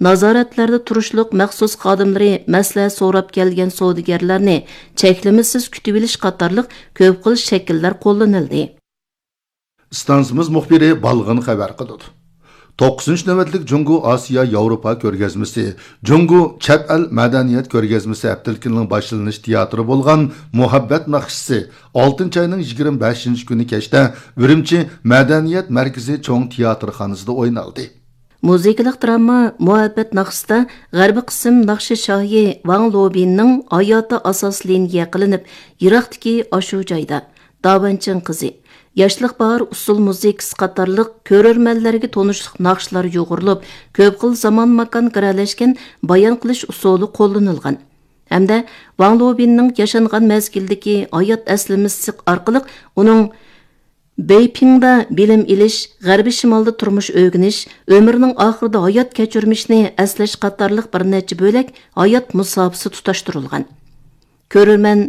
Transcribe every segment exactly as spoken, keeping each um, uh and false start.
نازارەتلەردە تۇرۇشلۇق مەخسۇس خادىملىرى مەسلىھەت سوراپ كەلگەن سودىگەرلەرنى چەكلىمىسىز كۈتۈۋېلىش قاتارلىق كۆپ خىل شەكىللەر قوللىنىلدى. ئىستانسىمىز مۇخبىرى بالغىن خەۋەر قىلىدۇ. توققۇزىنچى نۆۋەتلىك جۇڭگو ئاسىيا ياۋروپا كۆرگەزمىسى، جۇڭگو چەت ئەل مەدەنىيەت كۆرگەزمىسى ھەپتىلىكىنىڭ باشلىنىش تىياتىرى بولغان مۇھەببەت ناخشىسى ئالتىنچى ئاينىڭ يىگىرمە بەشىنچى كۈنى كەچتە ئۈرۈمچى مەدەنىيەت مەركىزى چوڭ تىياتىرخانىسىدا ئوينالدى. مۇزىكىلىق دراما مۇھەببەت ناخشىسىدا غەربىي قىسىم ناخشا شاھى ۋاڭ لوبىننىڭ ھاياتى ئاساس لىنىيە قىلىنىپ، يىراقتىكى ئاشۇ جايدا، داۋەنچىڭ قىزى، ياشلىق باھار ئۇسسۇل مۇزىكىسى قاتارلىق كۆرۈرمەنلەرگە تونۇشلۇق ناخشىلار يۇغۇرۇلۇپ، كۆپ خىل زامان ماكان گىرەلەشكەن بايان قىلىش ئۇسۇلى قوللىنىلغان. ھەمدە ۋاڭ لوبىننىڭ ياشانغان مەزگىلدىكى ھايات ئەسلىمىسى ئارقىلىق ئۇنىڭ بېيپىڭدا بىلىم ئېلىش، غەربىي شىمالدا تۇرمۇش ئۆگىنىش، ئۆمرىنىڭ ئاخىرىدا ھايات كەچۈرمىشىنى ئەسلەش قاتارلىق بىر نەچچە بۆلەك ھايات مۇساپىسى تۇتاشتۇرۇلغان. كۆرۈرمەن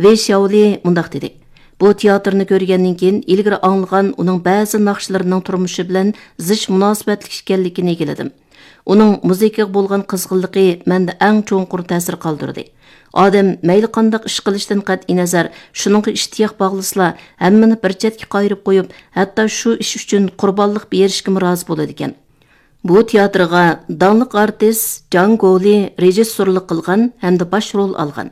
ۋېي شياۋلى مۇنداق دېدى: «بۇ تىياتىرنى كۆرگەندىن كېيىن، ئىلگىرى ئاڭلىغان ئۇنىڭ بەزى ناخشىلىرىنىڭ تۇرمۇشى بىلەن زىچ مۇناسىۋەتلىك ئىكەنلىكىنى ئىگىلىدىم. ئۇنىڭ مۇزىكىغا بولغان قىزغىنلىقى مەندە ئەڭ چوڭقۇر تەسىر قالدۇردى. ئادەم مەيلى قانداق ئىش قىلىشتىن قەتئىينەزەر، شۇنىڭغا ئىشتىياق باغلىسىلا، ھەممىنى بىر چەتكە قايرىپ قويۇپ، ھەتتا شۇ ئىش ئۈچۈن قۇربانلىق بېرىشكىمۇ رازى بولىدىكەن.» بۇ تىياتىرغا داڭلىق ئارتىس جاڭ گولى رېژىسسورلۇق قىلغان ھەمدە باش رول ئالغان.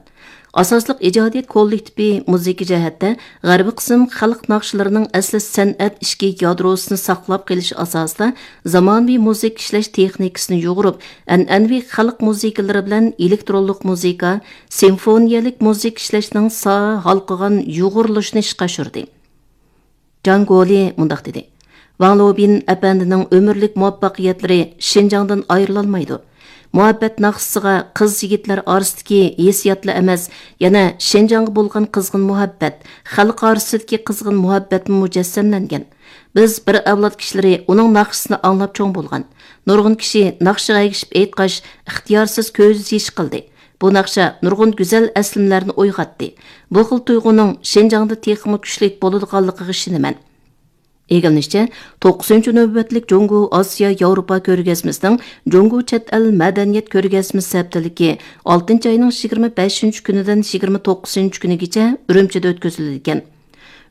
ئاساسلىق ئىجادىيەت كوللېكتىپى مۇزىكا جەھەتتە غەربىي قىسىم خەلق ناخشىلىرىنىڭ ئەسلى سەنئەت ئىچكى يادروسىنى ساقلاپ قېلىش ئاساسىدا زامانىۋى مۇزىكا ئىشلەش تېخنىكىسىنى يۇغۇرۇپ، ئەنئەنىۋى خەلق مۇزىكىلىرى بىلەن ئېلېكترونلۇق مۇزىكا، سىمفونىيەلىك مۇزىكا ئىشلەشنىڭ ساھە ھالقىغان يۇغۇرۇلۇشىنى ئىشقا ئاشۇردى. جاڭ گولى مۇنداق دېدى: «ۋاڭ لوبىن ئەپەندىنىڭ ئۆمۈرلۈك مۇۋەپپەقىيەتلىرى شىنجاڭدىن ئايرىلالمايدۇ. مۇھەببەت ناخشىسىغا قىز-يىگىتلەر ئارىسىدىكى ھېسسىياتلا ئەمەس، يەنە شىنجاڭغا بولغان قىزغىن مۇھەببەت، خەلق ئارىسىدىكى قىزغىن مۇھەببەتمۇ مۇجەسسەملەنگەن. بىز بىر ئەۋلاد كىشىلىرى ئۇنىڭ ناخشىسىنى ئاڭلاپ چوڭ بولغان. نۇرغۇن كىشى ناخشىغا ئەگىشىپ ئېيتقاچ، ئىختىيارسىز كۆز يېشى قىلدى. بۇ ناخشا نۇرغۇن گۈزەل ئەسلىمىلەرنى ئويغاتتى. بۇ خىل تۇيغۇنىڭ شىنجاڭدا تېخىمۇ كۈچلۈك بولىدىغانلىقىغا ئىشىنىمەن.» ئىگىلىنىشىچە، توققۇزىنچى نۆۋەتلىك جۇڭگو ئاسىيا ياۋروپا كۆرگەزمىسىنىڭ جۇڭگو چەت ئەل مەدەنىيەت كۆرگەزمىسى ھەپتىلىكى ئالتىنچى ئاينىڭ يىگىرمە بەشىنچى كۈنىدىن يىگىرمە توققۇزىنچى كۈنىگىچە ئۈرۈمچىدە ئۆتكۈزۈلىدىكەن.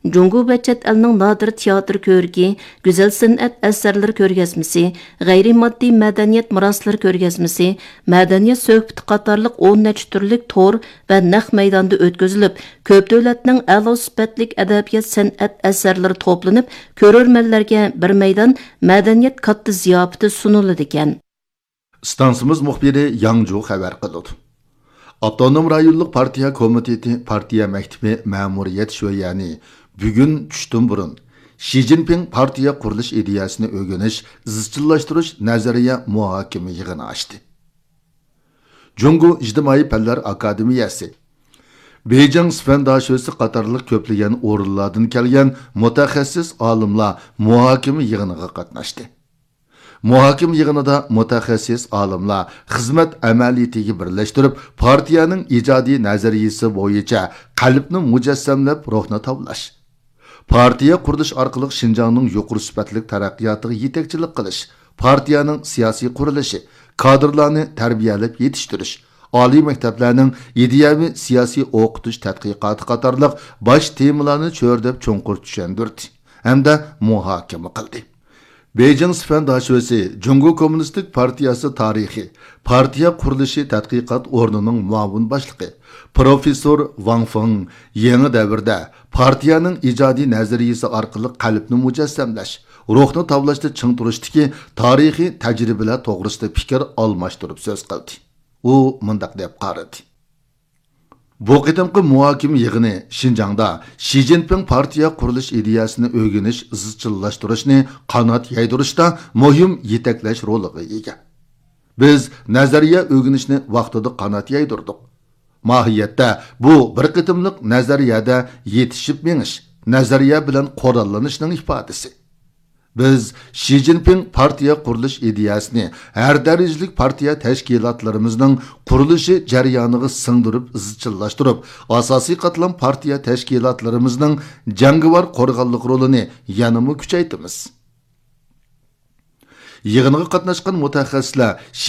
جۇڭگو ۋە چەت ئەلنىڭ نادىر تىياتىر كۆرىكى، گۈزەل سەنئەت ئەسەرلىرى كۆرگەزمىسى، غەيرىي ماددىي مەدەنىيەت مىراسلىرى كۆرگەزمىسى، مەدەنىيەت سۆھبىتى قاتارلىق ئون نەچچە تۈرلۈك تور ۋە نەق مەيداندا ئۆتكۈزۈلۈپ، كۆپ دۆلەتنىڭ ئەلا سۈپەتلىك ئەدەبىيات سەنئەت ئەسەرلىرى توپلىنىپ، كۆرۈرمەنلەرگە بىر مەيدان مەدەنىيەت كاتتا زىياپىتى سۇنۇلىدىكەن. ئىستانسىمىز مۇخبىرى ياڭجۇ خەۋەر قىلىدۇ. ئاپتونوم رايونلۇق پارتىيە كومىتېتى پارتىيە مەكتىپى مەمۇرىيەت شۆيەنى بۈگۈن چۈشتىن بۇرۇن شى جىنپىڭ پارتىيە قۇرۇلۇش ئىدىيەسىنى ئۆگىنىش، ئىزچىللاشتۇرۇش نەزەرىيە مۇھاكىمە يىغىنى ئاچتى. جۇڭگو ئىجتىمائىي پەنلەر ئاكادېمىيەسى، بېيجىڭ سىفەن داشۆسى قاتارلىق كۆپلىگەن ئورۇنلاردىن كەلگەن مۇتەخەسسىس ئالىملار مۇھاكىمە يىغىنىغا قاتناشتى. مۇھاكىمە يىغىنىدا مۇتەخەسسىس ئالىملار خىزمەت ئەمەلىيىتىگە بىرلەشتۈرۈپ، پارتىيەنىڭ ئىجادىي نەزەرىيىسى بويىچە قەلبنى مۇجەسسەملەپ، روھنى تاۋلاش، پارتىيە قۇرۇلۇش ئارقىلىق شىنجاڭنىڭ يۇقىرى سۈپەتلىك تەرەققىياتىغا يېتەكچىلىك قىلىش، پارتىيەنىڭ سىياسىي قۇرۇلۇشى، كادىرلارنى تەربىيەلەپ يېتىشتۈرۈش، ئالىي مەكتەپلەرنىڭ ئىدىيەۋى سىياسىي ئوقۇتۇش تەتقىقاتى قاتارلىق باش تېمىلارنى چۆرىدەپ چوڭقۇر چۈشەندۈردى ھەمدە مۇھاكىمە قىلدى. بېيجىڭ سىفەن داشۆسى جۇڭگو كوممۇنىستىك پارتىيەسى تارىخى، پارتىيە قۇرۇلۇشى تەتقىقات ئورنىنىڭ مۇئاۋىن باشلىقى، پروفېسسور ۋاڭ فېڭ يېڭى دەۋردە پارتىيەنىڭ ئىجادىي نەزەرىيىسى ئارقىلىق قەلبنى مۇجەسسەملەش، روھنى تاۋلاشتا چىڭ تۇرۇشتىكى تارىخىي تەجرىبىلەر توغرىسىدا پىكىر ئالماشتۇرۇپ سۆز قىلدى. ئۇ مۇنداق دەپ قارىدى. بۇ قېتىمقى مۇھاكىمە يىغىنى شىنجاڭدا شى جىنپىڭ پارتىيە قۇرۇلۇش ئىدىيەسىنى ئۆگىنىش، ئىزچىللاشتۇرۇشنى قانات يايدۇرۇشتا مۇھىم يېتەكلەش رولىغا ئىگە. بىز نەزەرىيە ئۆگىنىشنى ۋاقتىدا قانات يايدۇردۇق. ماھىيەتتە بۇ بىر قېتىملىق نەزەرىيەدە يېتىشىپ مېڭىش، نەزەرىيە بىلەن قوراللىنىشنىڭ ئىپادىسى. بىز شى جىنپىڭ پارتىيە قۇرۇلۇش ئىدىيەسىنى ھەر دەرىجىلىك پارتىيە تەشكىلاتلىرىمىزنىڭ قۇرۇلۇشى جەريانىغا سىڭدۈرۈپ ئىزچىللاشتۇرۇپ، ئاساسىي قاتلام پارتىيە تەشكىلاتلىرىمىزنىڭ جەڭگىۋار قورغانلىق رولىنى يەنىمۇ كۈچەيتىمىز. يىغىنغا قاتناشقان مۇتەخەسسىسلەر شى